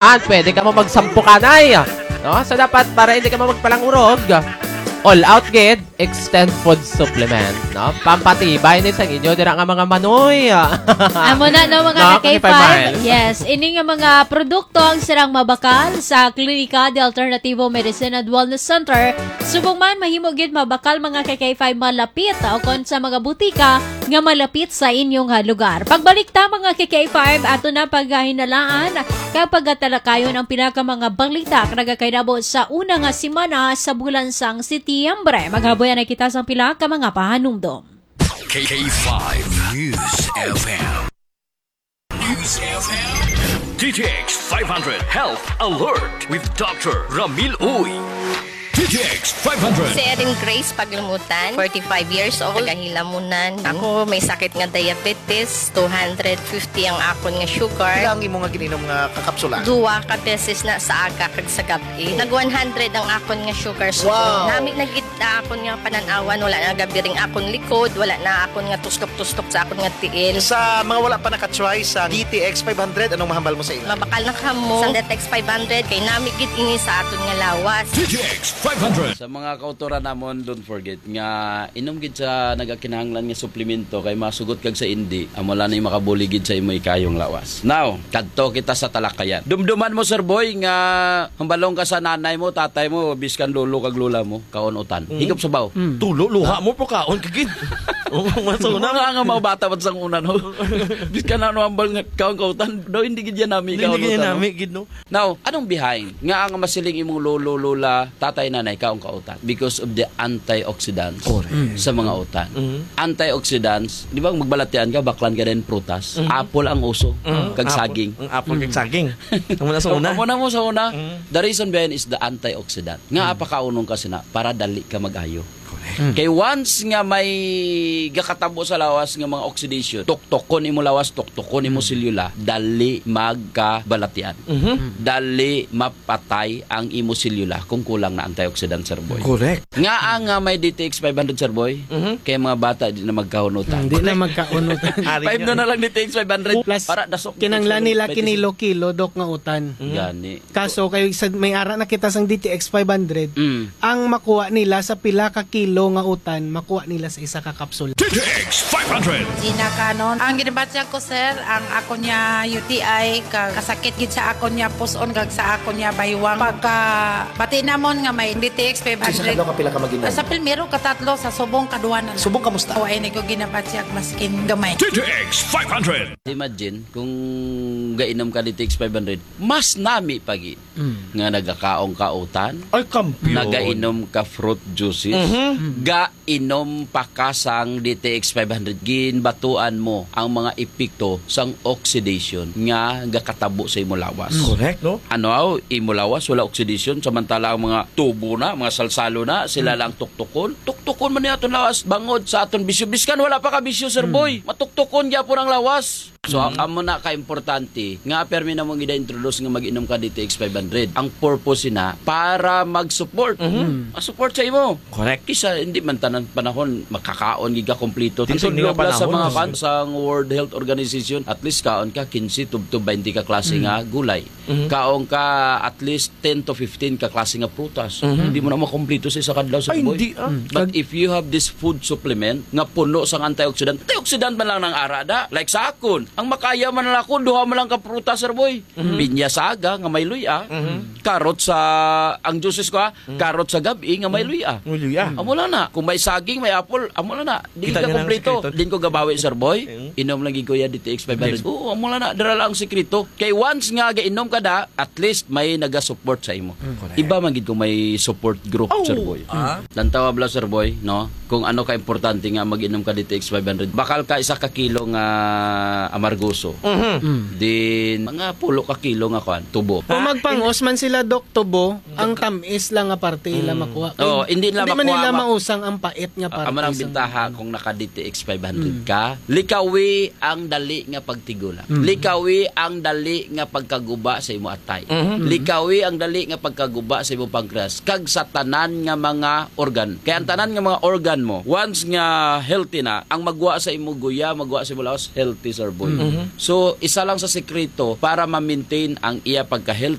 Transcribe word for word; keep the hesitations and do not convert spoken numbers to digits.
An, pwede ka mo magsampukanay. No? So, dapat para hindi ka mo magpalangurog, All Out gid, Extend Food Supplement. No? Pampatibay ni sang inyo dira nga mga manoy. Amo na, no, mga No, ka-K five. K five Miles. Yes, ini nga mga produkto ang sirang mabakal sa Klinika de Alternativo Medicine and Wellness Center. Subong man, mahimo gid mabakal, mga ka-K five, malapit o kon sa mga butika nga malapit sa inyong, ah, lugar. Pagbalik ta, mga ka-K five, ato na paghinalaan kag pagatalakayon ang pila ka mga balita nga nagakainabo sa una nga semana sa bulan sang Setyembre. Maghaboy na kita sa pila ka mga pahanumdom. K five News F M. News F M. D T X five hundred Health Alert with Doctor Ramil Uy. D T X five hundred. Si Erin Grace Paglumutan, forty-five years old, taga Hilamunan. Ako may sakit nga diabetes, two hundred fifty ang akon nga sugar. Pila ang imo nga gininom nga kakapsula? Duwa ka beses na, sa aga kag sa gab-i. Nag one hundred ang akon nga sugar. So, Wow. nami na gid na akon nga panan-awan, wala na gabiring akon likod, wala na akon nga tustok-tustok sa akon nga tiil. Sa mga wala pa naka-try sa D T X five hundred, anong mahambal mo sa ila? Mabakal na kamo sa D T X five hundred, kay nami gid ini sa aton nga lawas. D T X five hundred. Sa mga kautoran namon, don't forget nga inom gid sa nagakinahanglan nga suplemento, kay masugot kag sa indi, amo lang ni makabulig gid sa imo ikayong lawas. Now, kadto kita sa talakayan. Dumduman mo, Sir Boy, nga hambalong ka sa nanay mo, tatay mo, biskan lolo kag lola mo, kaon utan. Mm. Higop sabaw. Mm. Tulo, luha mo, pero kaon ka gid. Oo, mas Ano una. Nga nga mga bata pa sang una, no? Biskan ano hambal nga kaon ka utan, daw hindi gid yan nami Hindi kaon gid yan utan, no? nami gid, no? Now, anong behind nga ang masiling imong lolo, lola, tatay, nanay, kaon ka utan? Because of the antioxidants Correct. Mm. sa mga utan. Mm. Antioxidants, di ba, magbalatian ka, baklan ka din prutas. Mm. Apple ang uso, Mm. kag Apple. saging. Ang apple kag Mm. saging. Amo na sa una. Amo na mo sa una. Mm. The reason behind is the antioxidant. Nga Mm. apakaunong ka sina para dali ka mag-ayo. Correct. Mm. Kay once nga may gakatabo sa lawas nga mga oxidation, tuktukon imo lawas, tuktukon imo Mm. selula, dali magkabalatian. Mhm. Mm. Dali mapatay ang imo selula kung kulang na antioxidant, Sir Boy. Correct. Nga ang, ah, may D T X five hundred, Sir Boy, Mhm. kay mga bata di na magkaon utan. Hindi na magkaon utan. Ari Five na niya. na lang D T X five hundred. Plus, Para dasok kinanglan nila twenty-six. kinilo-kilo, Dok, nga utan. Mhm. Gani. Kaso, kay sa, may ara na kita sang D T X five hundred, Mm. ang makuha nila sa pila ka kilo nga utan, makuha nila sa isa ka kapsula. D T X five hundred. Gina Canon. Ang ginabatyag ko, sir, ang ako niya U T I, ka-, kasakit gid sa ako niya puson, kag sa ako niya baywang. Pagka bati namon nga may D T X five hundred. Sa isa ka adlaw ka pila ka mag-inom? Sa primero, katatlo, sa subong, kaduwa na lang. Subong, kamusta? O, ay, ni ko ginabatyag, maskin gamay. D T X five hundred. Imagine, kung gainom ka D T X five hundred, mas nami pagi Mm. nga nagakaon ka utan, Ay, kampiyon. nagainom ka fruit juices, Mhm. gainom pa ka sang D T X five hundred, ginbatuan mo ang mga epekto sang oxidation nga gakatabo sa imo lawas. Mm. Correct, no? Ano, aw, imo lawas, wala oxidation, samantala ang mga tubo na, mga salsalo na, sila Mm. lang tuktukon. Tuktukon man ni aton lawas, bangod sa aton bisyo. Biskan wala pa ka bisyo, Sir Mm. Boy. Matuktukon gyapon ang lawas. So, Mm. amo na ka-importante nga permi na mong gida-introduce nga mag-inom ka D T X five hundred. Ang purpose na para mag-support. Mhm. Mm. Ma-support sa imo. Correct. Kisa hindi man tanan panahon makakaon gid ka kompleto. Di Ang sa inyo nga tigdobla sa panahon, mga no? kan sang World Health Organization, at least kaon ka quince tubtob twenty ka klase Mm. nga gulay. Mhm. Kaon ka at least ten to fifteen ka klase nga prutas. Mhm. Hindi mo na makompleto sa isa ka adlaw, Sir Ay, Boy. hindi, ah. Mm. But Kag- if you have this food supplement nga puno sang antioxidant, antioxidant man lang nang ara da. Like sa akon, ang makaya man lang ako, duha man lang ka prutas, Sir Boy. Mhm. Pinya sa aga nga may luya, Mhm. karot sa, ang juices ko, ha, Mm. karot sa gab-i nga may Mm. luya. May luya. Amo lang na. Kung may saging, may apple, amo lang na. Di Kita ka niyo na ang kompleto. Sikreto. Din ko gabawi, Sir Boy. Mm. Inom lagi, Kuya, D T X five hundred. Yes. Oo, amo lang na. Dira lang ang sikreto. Kay once nga gainom ka da, at least may naga-support sa imo. Mm. Correct. Iba man gid kung may support group, Oh. Sir Boy. Ah. Lantawa bala, Sir Boy, no? Kung ano ka importante nga mag-inom ka D T X five hundred. Bakal ka isa ka kilo nga amargoso. Mhm. Mm. Din, mga pulo ka kilo nga kwan, tubo. Kung Ah, magpangos man sila, Doc, tubo, ang tamis lang nga parte ila Mm. makuha. Oo, hindi nila Hindi man makuha, nila ma-, mausang ang pait nga Ah, parte amo nang sa bintaha kung naka-D T X five hundred Mm. ka. Likawi ang dali nga pagtigula. Mm. Likawi ang dali nga pagkaguba sa imo atay. Mhm. Likawi ang dali nga pagkaguba sa imo pancreas. Kag sa tanan nga mga organ. Kay ang tanan nga mga organ mo, once nga healthy na, ang magwa sa imo guya, magwa sa imo lawas, healthy, Sir Boy. So, isa lang sa sekreto para ma-maintain ang iya pagka-healthy,